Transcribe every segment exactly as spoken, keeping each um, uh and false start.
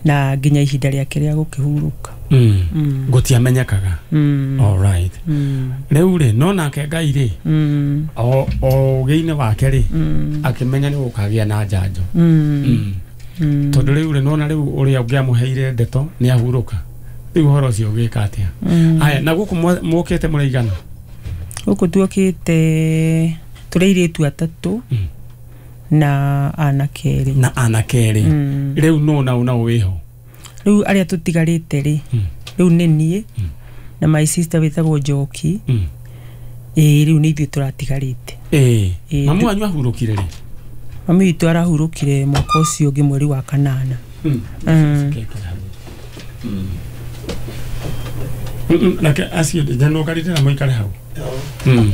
Na nginya ihinda rĩake rĩa gũkĩhurũka. Mm. Mm. Gũtiamenyekaga. Mm. All right. Mm. Rĩu rĩ no nake Ngai rĩ Mm. o o ũgĩ-inĩ wake rĩ Mm. akĩmenya nĩ gũkagĩa na njanjo. Mm. Mm. Mm. Tondũ rĩu rĩ nona rĩu ũrĩa ũngĩamũheire ndeto nĩ ahurũka. Rĩu ũhoro ũcio ũgĩka atĩa? Mm. Aya na gũkũ mwa- mũkĩte mũraigana? Gũkũ tuokĩte tũrĩ airĩtu atatũ Mm. na anake erĩ. Na anake erĩ. Mm. Rĩu no na na wĩho. Rĩu arĩa tũtigarĩte rĩ Mm. rĩu nĩ niĩ Mm. na my sister wĩtagwo Njoki. Mm. Ĩĩ rĩu nĩ ithuĩ tũratigarĩte. Ĩĩ. Ĩĩ, Mamu tu- wanyu ahurũkire rĩ? Mami witũ arahurũkire mwaka ũcio ũngĩ mweri wa kanana. Mm. Mm. Mm. Mm, reke acio njanũkarĩte na mũikare hau. Mm.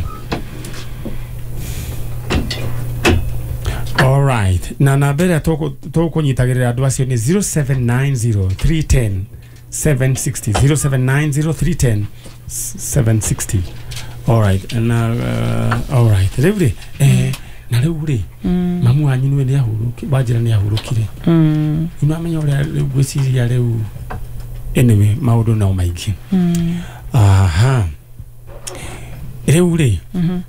All right. Na namba ĩrĩa tũkũ- tũkũnyitagĩrĩra andũ acio nĩ zero seven nine zero three ten seven sixty zero seven nine zero three ten seven sixty. All right. Na uh, all right. Rĩu rĩ eh, na rĩu rĩ Mm. mamu wanyu nĩwe nĩahurũki wanjĩra nĩahurũkire. Mm. Rĩu nĩwamenya ũrĩa rĩu ngwĩciria rĩu anyway maũndũ no maingĩ. Mm. Aha. Rĩu rĩ Mhm.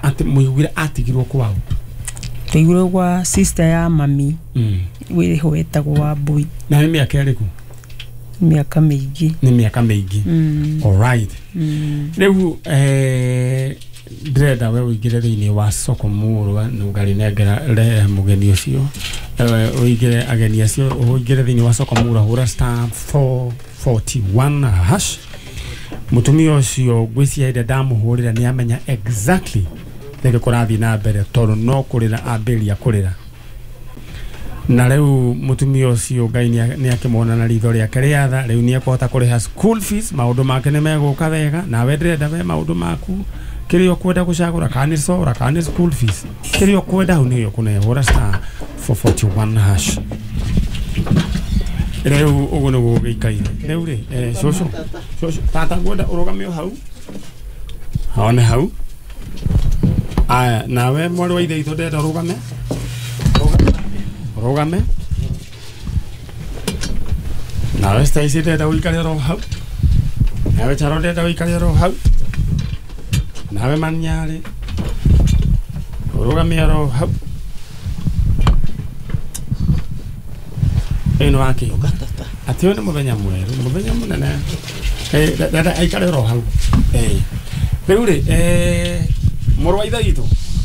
atĩ mũiguire atigirwo kwao. Twaiguire gwa sister ya mami Mm. wĩho wetagwo Wambui. Na nĩ mĩaka ĩrĩkũ? Mĩaka mĩingĩ. Nĩ mĩaka mĩingĩ. Mm. All right. Mm. Rĩu eh, ndĩrenda we ũingĩre thĩinĩ wa soko mũrwa nũngarĩnengera rehe mũgeni ũcio eh, ũingĩre ageni acio ũingĩre thĩinĩ wa soko mũrwa hũra star four forty one hash. Mũtumia ũcio ngwĩciria hĩndĩ ndamũhũrĩra nĩ amenya exactly nĩkĩ kũrathiĩ na mbere tondũ no kũrĩra ambĩrĩria kũrĩra. Na rĩu mũtumia ũcio Ngai nĩ akĩmuona na ritho rĩake rĩa tha rĩu nĩ ekũhota kũrĩha school fees maũndũ make nĩ megũka wega nawe ndĩrenda we maũndũ maku kĩrĩa ũkwenda gũcagũra kana nĩ sora kana nĩ school fees kĩrĩa ũkwenda hau nĩyo kũnehũra star four forty one hash. Rĩu ũguo nĩguo gũgĩikaire. Rĩu rĩ eh, cũcũ cũcũ tata ngwenda ũrũgame o hau hone hau. Aya nawe mwarĩ wa ithe witũ ndĩrenda ũrũgame ũrũgame nawe Stacy ndĩrenda ũikare oro hau nawe Charo ndĩrenda ũikare oro hau nawe Manyarĩ ũrũgame oro hau. Ĩno wake atĩ ũyũ nĩ mũthenya mwerũ mũthenya mũnene eh ndĩrenda aikare oro hau. Eh rĩu rĩ eh mũrũ wa ithe witũ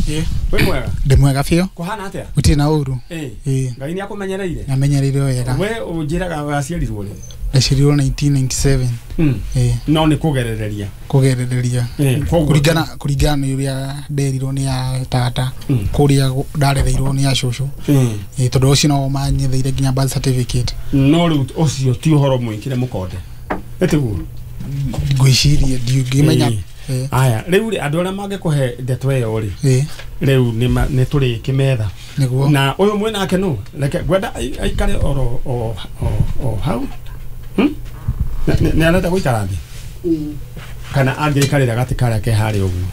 Ĩĩ. wĩ mwega? Ndĩ mwega biũ. Kũhana atĩa? Gũtirĩ na ũru. Ĩĩ. Ĩĩ. Ngai nĩ akũmenyereire? Nĩamenyereire wega. We ũnjĩraga waciarirwo rĩ? Ndaciarirwo nineteen ninety seven. Mm. Ĩĩ. No nĩ kũgerereria. Kũgerereria. Ĩĩ, koguo Kũringana kũringana na ũrĩa nderirwo nĩ a tata Mm. kũrĩa ndarereirwo nĩ a cũcũ. Ĩĩ. Ĩĩ tondũ ũcio no manyetheire nginya birth certificate. No rĩu ũcio ti ũhoro mwĩkĩre mũkonde. Ĩtiguo? Ngwĩciria ndingĩmenya. Ĩĩ. Ĩĩ. Aya rĩu rĩ andũ arĩa mangĩkũhe ndeto ĩyo rĩ Ĩĩ. rĩu nĩ tũrĩkĩmetha. Nĩguo. Na ũyũ mwĩ nake nũ reke ngwenda aikare oro o o hau. Hmm? Nĩ arenda gũikara thĩ? Kana angĩikarĩra gatĩ karĩa ke harĩa ũguo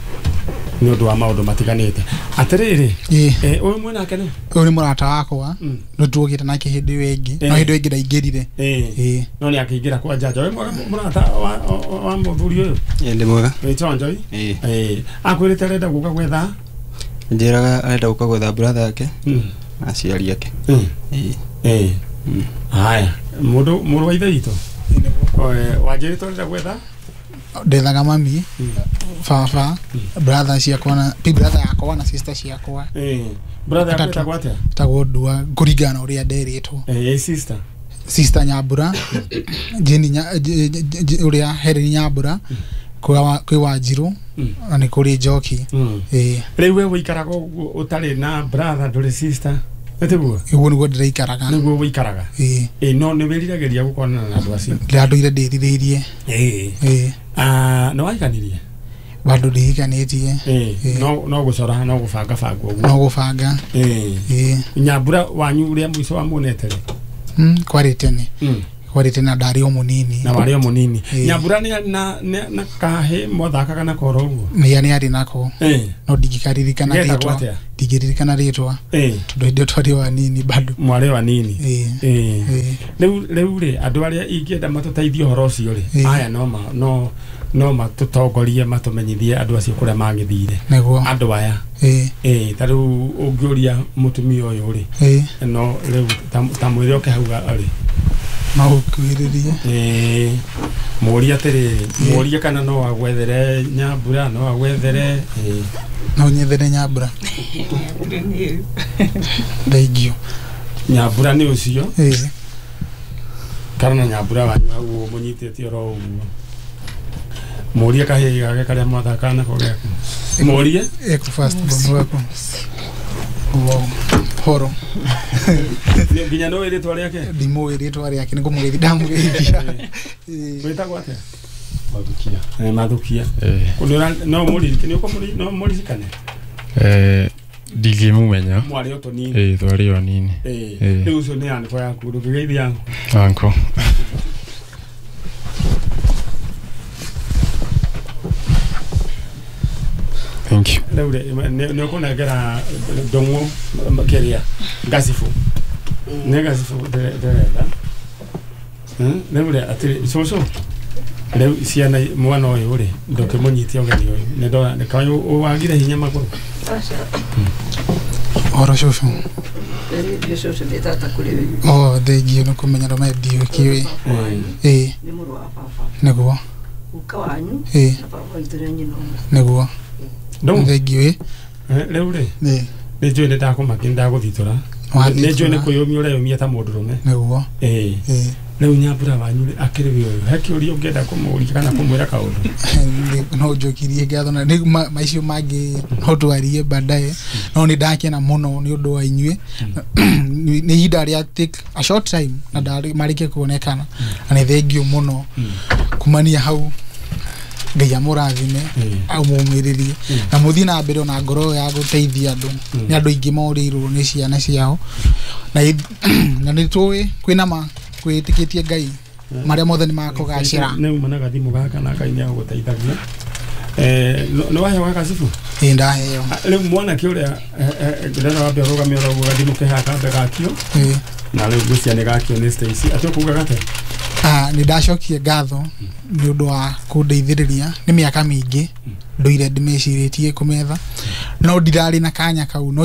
nĩ ũndũ wa maũndũ matiganĩte. Atĩrĩrĩ Ĩĩ. ũyũ mwĩ nake nũ? Ũyũ nĩ mũrata wakwa Mm. nĩ tuokĩte nake hĩndĩ ĩyo ĩngĩ no Ĩĩ. hĩndĩ ĩyo ĩngĩ ndaingĩrire. Ĩĩ. Ĩĩ. No nĩ akĩingĩra kwa njanja. Wĩ mwega mũrata wa wa mũthuri ũyũ? Ĩĩ ndĩ mwega. Wĩ chonjo? Ĩĩ. Ĩĩ. Akwĩrĩte arenda gũka gwetha? Njĩraga arenda gũka gwetha brother yake Mm. na aciari ake. Mm. Ĩĩ. Ĩĩ. Mm. Haya, mũndũ mũrũ wa ithe witũ wanjĩrĩte ũrenda gwetha? Ndethaga mami Mm. baba brother ciakwa na pi brother yakwa na sister ciakwa. Ĩĩ. Brother yaku Atatũ. ĩtagwo atĩa? Tagwo Ndua kũringana na ũrĩa nderĩtwo. Ĩĩ sister. Sister Nyambura Jane nya ũrĩa Helen Nyambura kwĩ Wanjirũ Mm. na nĩ kũrĩ Njoki. Mm. Ĩĩ. Rĩu we wĩikaraga ũguo ũtarĩ na brother ndũrĩ sister ĩtiguo? Ũguo nĩguo ndĩraikaraga. Nĩguo wĩikaraga. Ĩĩ. Ĩĩ no nĩ wĩriragĩria gũkonana na andũ acio? Ndĩratũire ndĩrirĩirie. Ĩĩ. Ĩĩ. Ah, nĩ waiganirie? Bado ndihikanĩtie. Ĩĩ. No no gũcora no gũbanga banga ũguo. No gũbanga. Ĩĩ. Ĩĩ. Nyambura wanyu ũrĩa mũico wamuonete rĩ? Mm, kwarĩ tene. Mm. Kwarĩ tene na ndarĩ o mũnini. Na warĩ o mũnini. Ĩĩ. Nyambura nĩ na na kahĩ mwathakaga nako oro ũguo? Nĩ nĩ arĩ nako. Ĩĩ. No ndingĩkaririkana Getagwo rĩtwa. atĩa? Ndingĩririkana rĩtwa. Ĩĩ. Tondũ hĩndĩ ĩyo twarĩ o anini bado. Mwarĩ o anini. Ĩĩ. Ĩĩ. Ĩĩ. Rĩu rĩu rĩ andũ arĩa ingĩenda matũteithie ũhoro ũcio rĩ Ĩĩ. aya no ma no no matũtongorie matũmenyithie andũ acio kũrĩa magĩthire Nĩguo. andũ aya Ĩĩ. ĩĩ ta rĩu ũngĩũria mũtumia ũyũ rĩ Ĩĩ. no rĩu ta- ta mwĩre oke hau rĩ No ũkuhĩrĩrie. ĩĩ mũrie atĩrĩrĩ mũrie kana no agwethere nyambura no agwethere ĩĩ No nyethere nyambura. Thank you. Nyambura nĩ ũcio Ĩĩ. kana na nyambura wanyu hau mũnyitĩte oro ũguo mũrie kahĩĩ gake karĩa mwathakaga nako geku mũrie Eko first born waku. Wow. Horo. Nĩ- nginya no rĩtwa rĩake Ndimũĩ rĩtwa rĩake nĩ kũmũgeithia ndamũgeithia. Ĩĩ. wĩtagwo atĩa Mathukia. Eh, Mathukia. Eh, Nĩ ũra- no mũririkane nĩ ũkũmũri- no mũririkane eh, ndingĩmũmenya. Mwarĩ o tũnini. Eh, twarĩ o anini. Ĩĩ. Ĩĩ. Rĩu ũcio nĩ anko yaku ndũngĩgeithia anko? Anko. Thank you. Rĩu rĩ nĩ nĩ ũkũnengera ndũng'ũ kĩrĩa ngacibũ nĩ ngacibũ ndĩre- ndĩrenda Hmm, rĩu rĩ atĩrĩ cũcũ rĩu ciana mwana ũyũ rĩ ndũkĩmũnyitie ũgeni ũyũ nĩ ndona nĩ kaĩ wagire hinya magũrũ. Horo cũcũ. Nĩ cũcũ nĩ tata kũrĩ we. Oh, thengiũ nĩ kũmenya ndũme ndiũkĩũĩ. Ĩĩ. Nĩ mũrũ wa baba. Nĩguo. Guka wanyu Ĩĩ. na baba witũ nĩ nyina ũmwe. Nĩguo. Ndũng'ũ Thengiũ ĩ. Eh, rĩu rĩ Ĩĩ. nĩ njũĩ nĩ ndakũmakia nĩ ndagũthitũra nĩ njũĩ nĩ kwĩyũmia ũreyũmia ta mũndũrũme. Nĩguo. Ĩĩ. Ĩĩ. Rĩu nyambura wanyu rĩ akĩrĩ we ũyũ he kĩũria ũngĩenda kũmũũria kana kũmwĩra kaũndũ? Nĩ- no njokirie ngatho na nĩ ma- maicio mangĩ no twarie baadaye no nĩ ndakena mũno nĩ ũndũ wa inyuĩ nĩ nĩ ihinda rĩa take a short time na ndarĩ marĩkie kuonekana na nĩ thengiũ mũno kumania hau Ngai amũrathime amũmĩrĩrie na mũthiĩ na mbere ona ngoro ĩyo ya gũteithia andũ nĩ andũ aingĩ morĩirwo nĩ ciana ciao na ith- na nĩ tũĩ kwĩna ma kwĩtĩkĩtie Ngai marĩa mothe nĩ makũgacĩra. Nĩ uma na gathimũ gaka na Ngai nĩ agũgũteithagia. Eh, no- nĩ waheo gacibũ? Ĩĩ, ndaheo. Ah, rĩu mwanake ũrĩa ndĩrenda wambe ũrũgame oro ũguo gathimũ ke haha kambe gakio Ĩĩ. na rĩu ngwĩciria nĩ gakio nĩ Stacy atĩ ũkuga gate Ah, nĩ ndacokia ngatho nĩ ũndũ wa kũndeithĩrĩria nĩ mĩaka mĩingĩ ndũire ndĩmecirĩtie kũmetha no ndirarĩ na kanya kau no